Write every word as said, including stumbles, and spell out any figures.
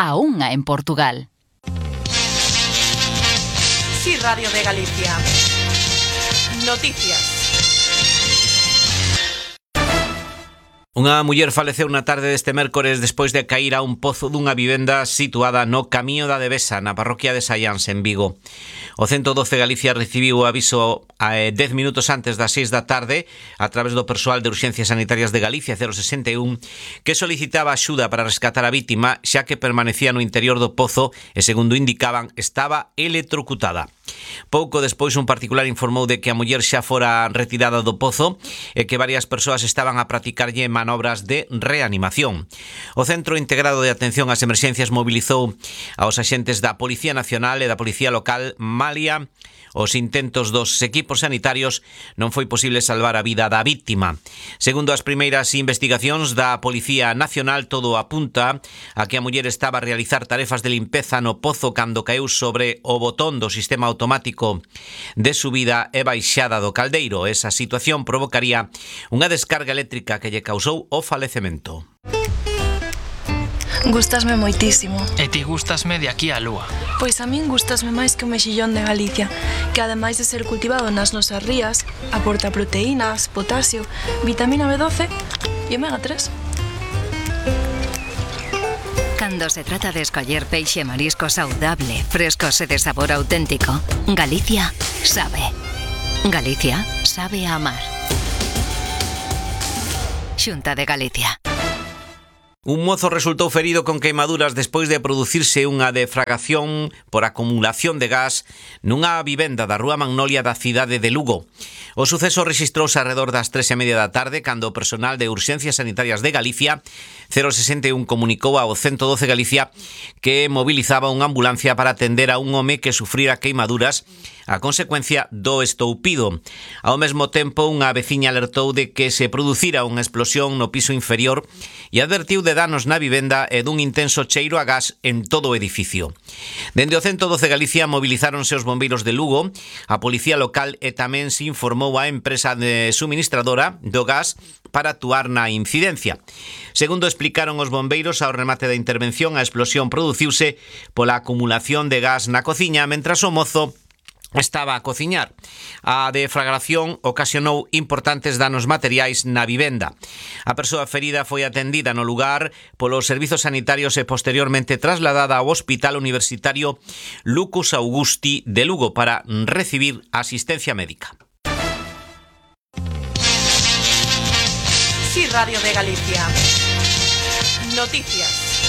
a unha en Portugal. Sí, Radio de Galicia. Noticias. Unha muller faleceu na tarde deste mércores despois de cair a un pozo dunha vivenda situada no Camiño da Devesa, na parroquia de Saiáns, en Vigo. O ciento doce Galicia recibiu o aviso a dez minutos antes das seis da tarde a través do persoal de Urxencias Sanitarias de Galicia cero sesenta e un que solicitaba axuda para rescatar a vítima xa que permanecía no interior do pozo e, segundo indicaban, estaba electrocutada. Pouco despois un particular informou de que a muller xa fora retirada do pozo e que varias persoas estaban a practicarlle manobras de reanimación. O Centro Integrado de Atención ás Emerxencias mobilizou aos axentes da Policía Nacional e da Policía Local malia os intentos dos equipos sanitarios non foi posible salvar a vida da víctima. Segundo as primeiras investigacións da Policía Nacional, todo apunta a que a muller estaba a realizar tarefas de limpeza no pozo cando caeu sobre o botón do sistema automático de subida e baixada do caldeiro. Esa situación provocaría unha descarga eléctrica que lle causou o falecemento. Gústasme moitísimo. E ti gústasme de aquí á lúa. Pois a min gústasme máis que o mexillón de Galicia, que ademais de ser cultivado nas nosas rías, aporta proteínas, potasio, vitamina B doce e omega tres. Cando se trata de escoller peixe e marisco saudable, frescos e de sabor auténtico, Galicia sabe. Galicia sabe a amar. Xunta de Galicia. Un mozo resultou ferido con queimaduras despois de producirse unha defragación por acumulación de gas nunha vivenda da Rúa Magnolia da cidade de Lugo. O suceso rexistrouse arredor das tres e media da tarde cando o personal de Urxencias Sanitarias de Galicia cero sesenta e un comunicou ao ciento doce Galicia que mobilizaba unha ambulancia para atender a un home que sufrira queimaduras a consecuencia do estoupido. Ao mesmo tempo, unha veciña alertou de que se producira unha explosión no piso inferior e advertiu de danos na vivenda e dun intenso cheiro a gas en todo o edificio. Dende o ciento doce Galicia movilizáronse os bombeiros de Lugo, a policía local e tamén se informou a empresa de suministradora do gas para actuar na incidencia. Segundo explicaron os bombeiros, ao remate da intervención, a explosión produciuse pola acumulación de gas na cociña mentras o mozo estaba a cociñar. A deflagración ocasionou importantes danos materiais na vivenda. A persoa ferida foi atendida no lugar polos servizos sanitarios e posteriormente trasladada ao Hospital Universitario Lucas Augusti de Lugo para recibir asistencia médica. Sí, Radio de Galicia. Noticias.